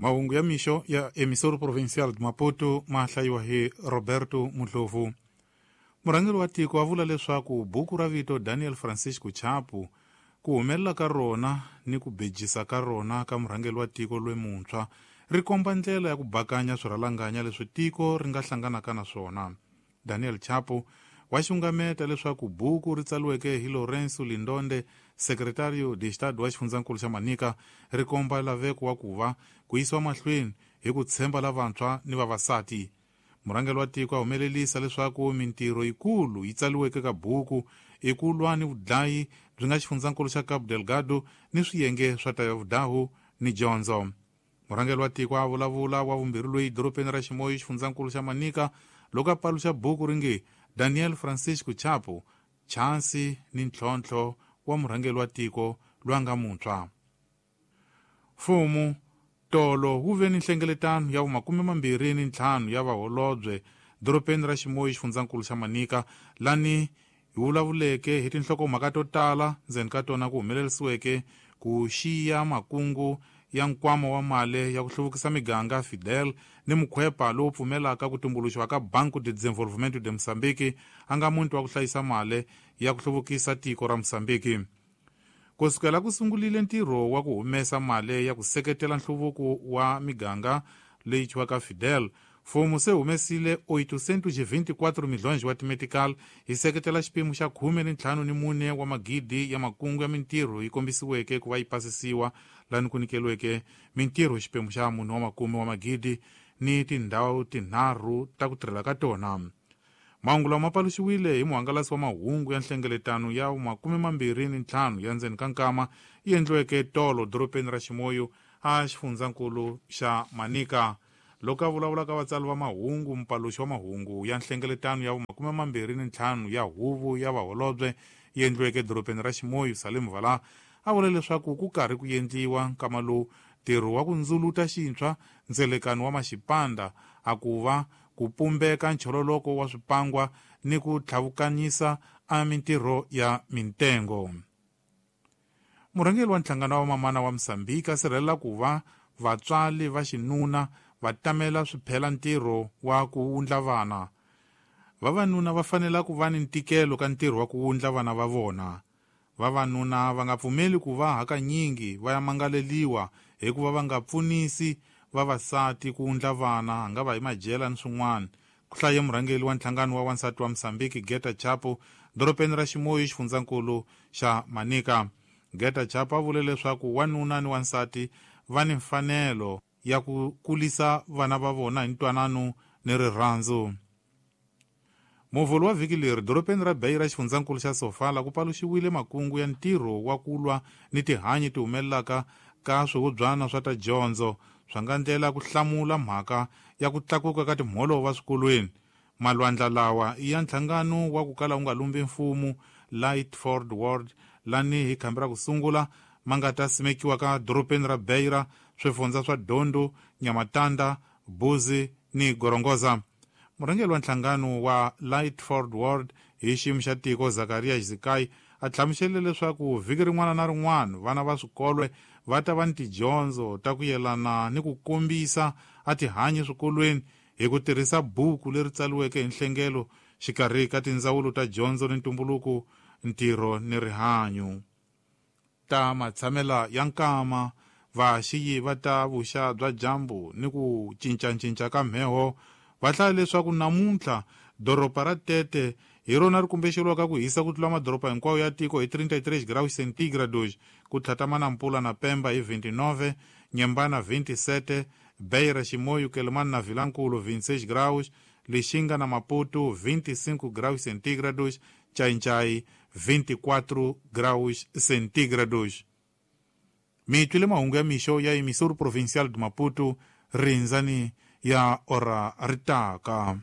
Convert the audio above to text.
Mahungu ya mixo ya Emissora Provincial de Maputo ma hlayiwa hi Roberto Mudlovu. Murhangeri wa tiko a vula leswaku buku ra vito Daniel Francisco Chapo ku humelela ka rona ni ku bejisa ka rona ka murhangeri wa tiko lomuntshwa ri komba ndlela ya ku bakanya swirhalanganya leswi tiko ri nga hlanganaka na swona. Daniel Chapo wa xungameta leswaku buku ri tsaliweke hi Lourenço Lindonde, secretario de Estado wa xifundzankulu xa Manica, ri komba laveko wa ku va ku yisiwa mahlweni hi ku tshemba lavantshwa ni vavasati. Murhangeri wa tiko a humelelisa leswaku mintirho yikulu yi tsaliweke ka buku i ku lwa ni vudlayi byi nga xifundzankulu xa Cabo Delgado ni swiyenge swa tavudahu ni dyondzo. Murhangeri wa tiko a vulavula wa vumbirhi loyi dorobeni ra Chimoio xifundzankulu xa Manica loko a paluxa buku ri nge Daniel Francisco Chapo, chansi ni ntlhontlho wa murhangeri wa tiko loyi a nga muntshwa. Mfumo tolo wu ve ni nhlengeletano ya 25 ya vaholobye dorobeni ra Chimoio xifundzankulu xa Manica lani hi vulavuleke hi tinhlokomhaka to tala ndzeni ka tona ku humelerisiweke ku xiya makungu ya nkwama wa mali ya ku hluvukisa miganga Fidel ni mukhwepa lowu pfumelaka ku tumbuluxiwa ka Banco de Desenvolvimento de Moçambique a nga muti wa ku hlayisa mali ya ku hluvukisa tiko ra Mozambique. Ku sukela ku sungulile ntirho wa ku humesa mali ya ku seketela nhluvuko wa miganga leyi thyiwaka Fidel, mfumo se humesile 824 milhões wa timetical hi seketela xipimo xa 14 wa magidi ya makungu ya mintirho yi kombisiweke ku va yi pasisiwa lani ku nyikeliweke mintirho xipimo xa 4 wa makume wa magidi ni tindhawu tinharhu ta ku tirhela ka tona. Mahungu lawa ma paluxiwile hi muhangalasi wa mahungu ya nhlengeletano ya 25 ya ndzeni ka nkama yi endliweke tolo dorobeni ra Chimoio a xifundzankulu xa Manica. Loko a vulavula ka vatsali va mahungu, mupaluxi wa mahungu ya nhlengeletano ya 25 ya huvo ya vaholobye yi endliweke dorobeni ra Chimoio, Salim Vala, a vula leswaku ku karhi ku endliwa nkama lowu ntirho wa ku ndzuluta xintshwa ndzelekano wa maxipanda a ku va ku pumbeka nchololoko wa swipangwa ni ku tlhavukanyisa a mintirho ya mintengo. Murhangeri wa nhlangano wa mamana wa Mozambique a sirhelela ku va vatswari va xinuna va tamela swiphela ntirho wa ku wundla vana. Vavanuna va fanela ku va ni ntikelo ka ntirho wa ku wundla vana va vona. Vavanuna va nga pfumeli ku va hakanyingi va ya mangaleliwa hikuva va nga pfunisi vavasati ku wundla vana, nga va hi majela ni swin'wana. Ku hlaye murhangeri wa nhlangano wa wansati wa Mozambique Geta Chapo dorobeni ra Chimoio xifundzankulu xa Manica. Geta Chapo a vule leswaku wanuna ni wansati va ni mfanelo ya ku kulisa vana va vona hi ntwanano ni rirhandzu. Muvhulu wa vhiki leri dorobeni ra Beira xifundzankulu xa Sofala ku paluxiwile makungu ya ntirho wa ku lwa ni tihanyi ti humelelaka ka swihubyana swa ta dyondzo swa nga ndlela ku hlamula mhaka ya ku tlakuka ka timholova swikolweni. Malwandla lawa i ya nhlangano wa ku kala wu nga lumbi mfumo Lightford World lani hi khambi ra ku sungula ma nga ta simekiwa ka dorobeni ra Beira, swifundza swa Dondo, Nhamatanda, Buzi ni Gorongosa. Murhangeri wa nhlangano wa Lightford World hi xiyimo xa tiko Zakaria Zikai a hlamuserile leswaku vhiki rin'wana na rin'wana vana va swikolo va ta va ni tidyondzo ta ku yelana ni ku kombisa a tihanyi swikolweni hi ku tirhisa buku leri tsaliweke hi nhlengelo xikarhi ka tindzawulo ta dyondzo ni ntumbuluko, ntirho ni rihanyo. Ta matshamela ya nkama, vaxiyi va ta vuxa bya dyambu ni ku cincacinca ka mheho va hlaya leswaku namuntlha doroba ra Tete hi rona ri kumbexeriwaka ku hisa ku tlula madoroba hinkwawo ya tiko hi 33 graus centigrados, ku tlhatama na Mpula na Pemba hi 29, Nyembana 27, Beira, Chimoio, Quelimane na Vilankulo 26 graus, Lixinga na Maputo 25 graus centígrados, Xai-Xai 24 graus centígrados. Mi twile mahungu ya mixo ya Emissora Provincial de Maputo, rindzani ya ora ritaka.